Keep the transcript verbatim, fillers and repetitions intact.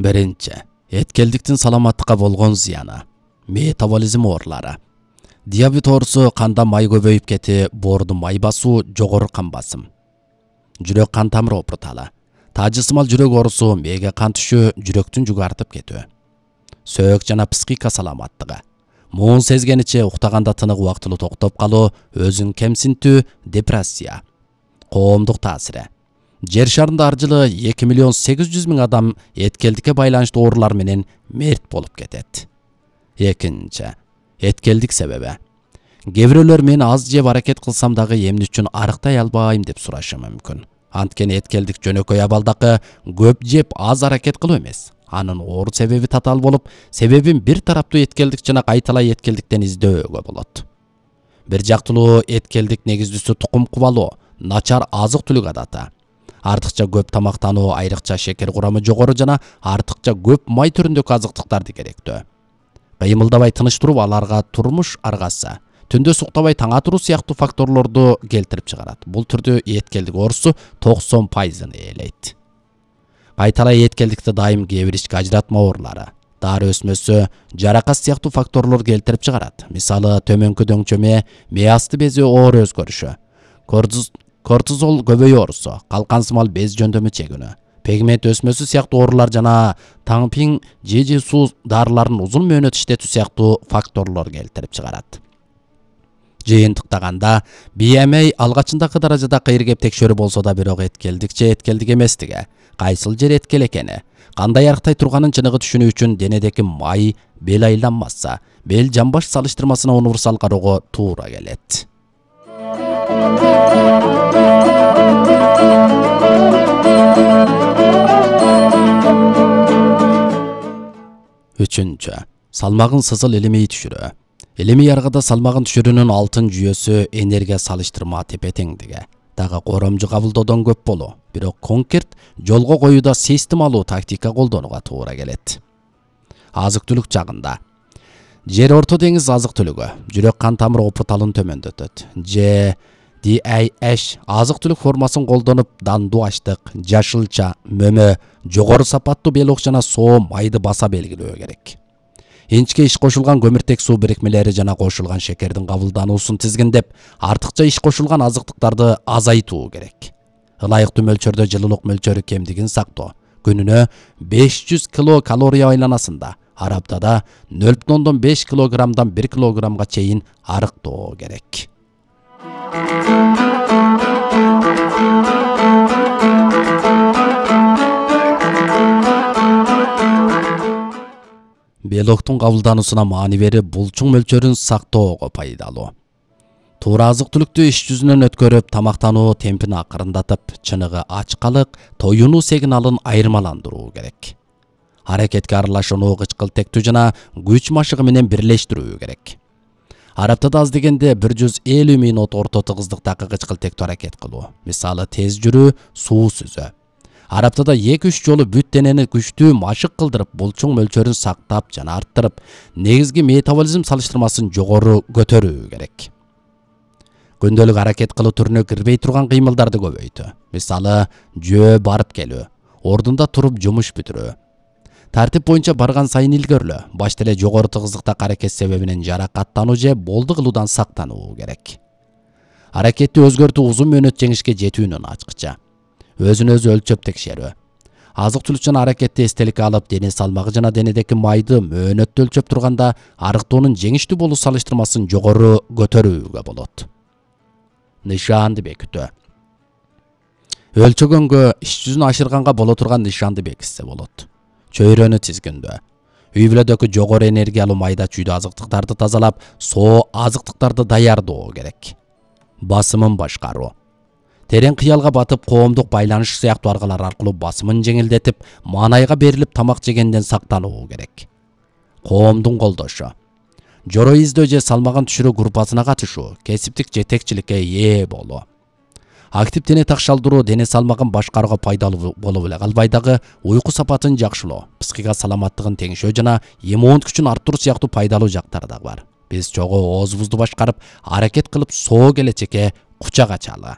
Биринчи, эткелдиктин саламаттыкка болгон зыяны. Метаболизм оорулары. Диабет оорусу канда май көбөйүп кети, боордун май басуу, жогору кан басым. Жүрөк кан тамыр опурталы. Таажысымал жүрөк оорусу, мээге кан түшүү, жүрөктүн жүгү артып кетүү. Сөök жана психика саламаттыгы. Муун сезгениче уктаганда тынык убактылуу токтоп калуу, өзүн кемсинтүү, депрессия. Коомдук таасири. Жер шарында ар жылы эки миллион сегиз жүз миң адам эткелдикке байланыштуу оорулар менен мерт болуп кетет. Экинчи, эткелдик себеби. Кээ бирөөлөр мен аз жеп аракет кылсам дагы эмне үчүн арыктай албайм деп сурашы мүмкүн. Анткени эткелдик жөнөкөй абалдакы көп жеп аз аракет кылуу эмес. Анын оору себеби татаал болуп, себебин бир тараптуу эткелдик жана кайталай эткелдиктен издөөгө болот. Бир жактылуу эткелдик негиздүүсү тукум кубалоо, начар азык-түлүк адаты. Артыкча көп тамактануу, айрыкча шекер курамы жогору жана артыкча көп май түрүндөгү азыктыктарды керектөө. Кыймылдабай тыныч туруп, аларга турмуш аргасы, түндө суктабай таң атыруу сыяктуу факторлорду келтирип чыгарат. Бул түрдүү эткелдик оорусу токсон пайызын ээлейт. Кайталай эткелдикти дайым кээ бир ички ажыратма оорулары, дары өсмөсү, жаракат сыяктуу факторлор келтирип чыгарат. Мисалы, төмөнкү дөңчөмө, мээ асты бези оору өзгөрүшү, кортизол көбөйүү оорусу, калкансымал без жөндөмү чегүүнү, пигмент өсмөсү сыяктуу оорулар жана таңпиң же суу дарыларын узун мөөнөт иштетүү сыяктуу факторлор келтирип чыгарат. Жыйынтыктаганда, би эм ай алгачындагы даражада кыйыркеп текшөрүү болсо да, бирок эткелдик же эткелдик эместиги, кайсыл жер эткел экени, кандай арыктай турганын чыныгы түшүнүү үчүн денедеги май, бел айланмасы, бел жамбаш салыштырмасына универсал кароого туура келет. Үчүнчү, салмагын сызыл илимий түшүрүү. Илимий аргада салмагын түшүрүүнүн алтын жүйөсү энергия салыштырма тепе-теңдиги. Дагы коромжу кабылдоодон көп болуу, бирок конкрет жолго коюуда системалуу тактика колдонууга туура келет. Азык-түлүк жагында. Жер Орто деңиз азык-түлүгү, жүрөк кан тамыр опурталын төмөндөтөт. Же ди эй эш азык-түлүк формасын колдонуп, дандуу ачтык, жашылча, мөмө, жогору сапаттуу белок жана соо майды баса белгилөө керек. Инчке иш кошулган көмүртек суу бирикмелери жана кошулган шекердин кабылдануусун тизгиндеп, артыкча иш кошулган азыктыктарды азайтуу керек. Ылайыктуу мөлчөрдө жылуулук мөлчөрү кемдигин сактоо. Күнүнө беш жүз килокалория айланасында, ар аптада нөл бүтүн ондон беш килограммдан бир килограммга чейин арыктоо керек. Белоктун кабылдануусуна маани берип, булчуң мөлчөрүн сактоого пайдалуу. Туура азык-түлүктү иш жүзүнөн өткөрүп, тамактануу темпин акырындатып, чыныгы ачкалык, тоюнуу сигналын айырмаландыруу керек. Аракетке аралашууну кычкылтектүү жана күч машыгы менен бирлештирүү керек. Ар аптада аз дегенде бир жүз элүү минут орто тыгыздыктагы кычкылтектүү аракет кылуу. Мисалы, тез жүрүү, суу сүзүү. Ар аптада эки үч жолу бүт денени күчтүү машык кылдырып, булчуң мөлчөрүн сактап жана арттырып, негизги метаболизм салыштырмасын жогору көтөрүү керек. Күндөлүк аракет кылуу түрүнө кирбей турган кыймылдарды көбөйтүү. Мисалы, жөө барып келүү, ордунда туруп жумуш бүтүрүү. Тартип боюнча барган сайын илгөрлөө, башта эле жогору тыгыздыктагы аракет себебинен жаракаттануу же болду кылуудан сактануу керек. Аракетти өзгөртүү узун мөөнөт жеңишке жетүүнүн ачкычы. Өзүн өзү өлчөп текшерүү. Азык-түлүк жана аракетти эстеликке алып, дене салмагы жана денедеги майды мөөнөттө өлчөп турганда, арыктоонун жеңиштүү болуу салыштырмасын жогору көтөрүүгө болот. Нышанды бекитүү. Өлчөгөнгө, иш жүзүн ашырганга боло турган нышанды бекитсе болот. Чөйрөнү тизгиндөө. Үй бүлөдөгү жогору энергиялуу майда чүйдүү азыктыктарды тазалап, соо азыктыктарды даярдоо керек. Басымын башкаруу. Терең кыялга батып, коомдук байланыш сыяктуу аргалар аркылуу басымын жеңилдетип, маанайга берилип тамак жегенден сактануу керек. Коомдун колдошу. Жоро издөө же салмагын түшүрүү группасына катышуу, кесиптик жетекчиликке ээ болуу. Актив дене такшалдыруу дене салмагын башкарууга пайдалуу болуп эле калбай дагы, уйку сапатын жакшылоо, психика саламаттыгын теңшөө жана иммундук күчүн арттыруу сыяктуу пайдалуу жактары да бар. Биз чогуу оозубузду башкарып, аракет кылып, соо келечекке кучак ачалы.